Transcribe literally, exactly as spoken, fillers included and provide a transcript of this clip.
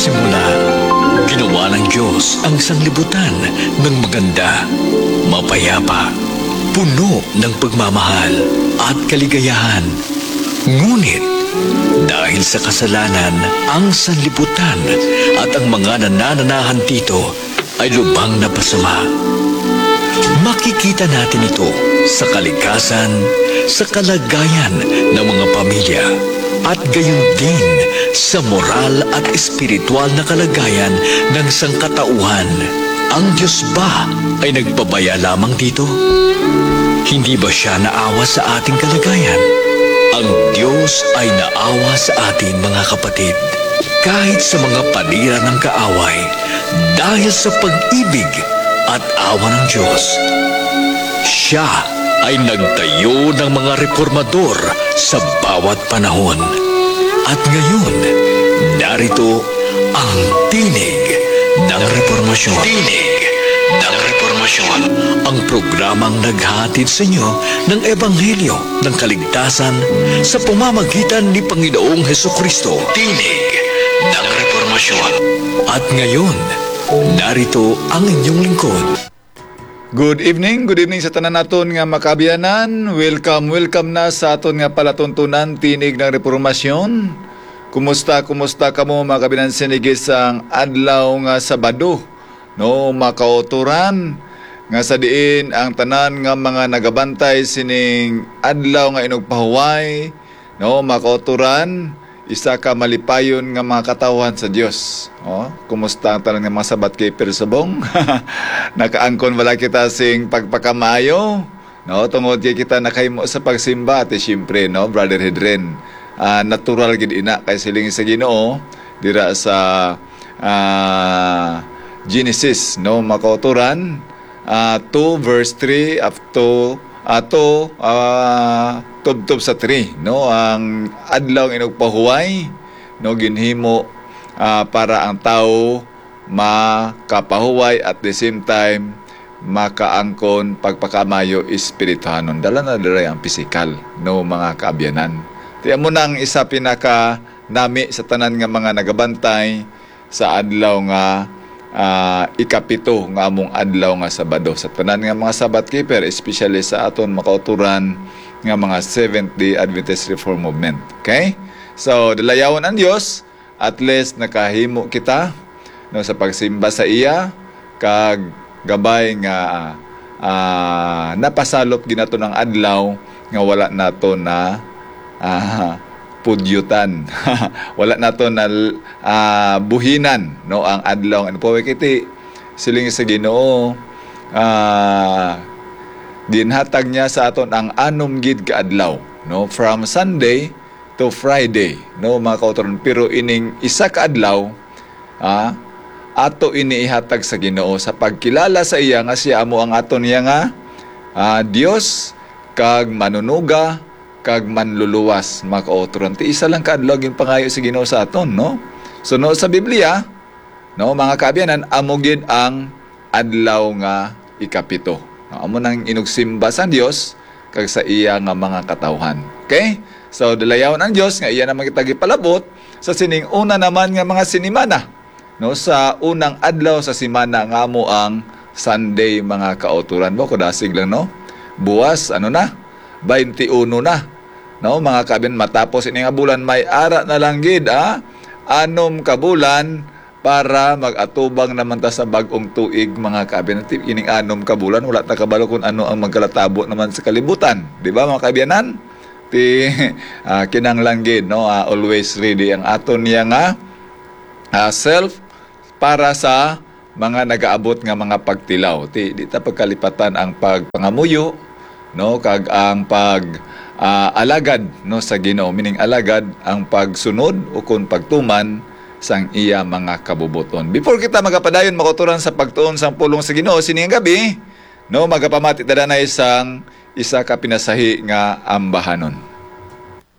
Muna, ginawa ng Diyos ang sanglibutan ng maganda, mapayapa, puno ng pagmamahal at kaligayahan. Ngunit, dahil sa kasalanan, ang sanlibutan at ang mga nanananahan dito ay lubhang napasama. Makikita natin ito sa kalikasan, sa kalagayan ng mga pamilya, at gayon din sa moral at espiritual na kalagayan ng sangkatauhan. Ang Diyos ba ay nagpabaya lamang dito? Hindi ba siya naawa sa ating kalagayan? Ang Diyos ay naawa sa atin, mga kapatid, kahit sa mga panira ng kaaway, dahil sa pag-ibig at awa ng Diyos. Siya ay nagtayo ng mga reformador sa bawat panahon. At ngayon, narito ang Tinig ng Reformasyon. Tinig ng Reformasyon. Ang programang naghahatid sa inyo ng Ebanghelyo ng kaligtasan sa pamamagitan ni Panginoong Hesukristo. Tinig ng Reformasyon. At ngayon, narito ang inyong lingkod. Good evening, good evening sa tanan naton nga makaabyanan. Welcome, welcome na sa aton nga palatuntunan, Tinig ng Reformasyon. Kumusta, kumusta kamo, mga kaabyanan, sinigis sang adlaw nga Sabado, no, makauturan, nga sa diin ang tanan nga mga nagabantay sining adlaw nga inugpahuway, no, makauturan, isa ka malipayon nga mga katawhan sa Dios. Oh, kumusta ang tanan nga mga Sabbath keeper subong? Nakaangkon bala kita sing pagpakamaayo, no, tungod kay kita nakahimo sa pagsimba, ati siyempre, no, Brother Hedren. Ah, natural gid ina kay siling sa Ginoo dira sa, ah, Genesis, no, makauturan, ah, two verse three up to, ah, to, ah, tubtob sa three, no, ang adlaw nga inugpahuway, no, ginhimo, ah, para ang tawo makapahuway, at the same time makaangkon pagpakamaayo espirituhanon. Dala na dira ang pisikal, no, mga kaabyanan. Ti amo na ang isa pinaka nami sa tanan nga mga nagabantay sa adlaw nga, ah, ikapito nga among adlaw nga Sabado. Sa tanan nga mga Sabbath keeper, especially sa aton makauturan nga mga Seventh-day Adventist Reform Movement. Okay? So, dalayawon ang Dios, at least nakahimo kita, no, sa pagsimba sa iya, kag gabay nga, ah, napasalop gid naton ang adlaw nga wala nato na, ah, pudyutan. Wala nato na, ah, buhinan, no, ang adlaw nga inugpahuway, kay ti siling sa Ginoo, ah, ginhatag niya sa aton ang anom gid ka adlaw, no, from Sunday to Friday, no, mga kauturan. Pero ining isa ka adlaw, ah, ato ini ihatag sa Ginoo sa pagkilala sa iya nga siya amo ang aton niya nga, ah, Dios, kag Manunuga, kag Manluluwas, mga kauturan. Ti isa lang ka adlaw ginpangayo sa Ginoo sa aton, no? So, no, sa Biblia, no, mga kaabyanan, amo gid ang adlaw nga ikapito. No, amo nang inugsimba sang Dios kag sa iya nga mga katawhan. Okay? So, dalayawon ang Dios nga iya naman kita gipalabot sa sining una naman nga mga sinimana, no, sa unang adlaw sa simana nga amo ang Sunday, mga kauturan. Mo, kudasig lang, no? Buwas, ano na? Bainti uno na. No, mga kaabyanan, matapos ini nga bulan, may ara na lang gid, ah, anom ka bulan para mag-atubang naman ta sa bag-ong tuig, mga kaabyanan. Ti, ining anom ka bulan, wala ta kabalo kung ano ang magkalatabo naman sa kalibutan. Di ba, mga kaabyanan? Ti, ah, kinahanglan gid, no? Ah, always ready ang aton niya nga, ah, self para sa mga nagaabot nga mga pagtilaw. Ti, di ta pagkalipatan ang pagpangamuyo, no, kag ang pag, ah, alagad, no, sa Ginoo, meaning alagad ang pagsunod o kon pagtuman sang iya mga kabubuton. Before kita magapadayon, makauturan sa pagtuon sang pulong sa Ginoo sining gabi, no, magapamati ta danay sang isa ka pinasahi nga ambahanon.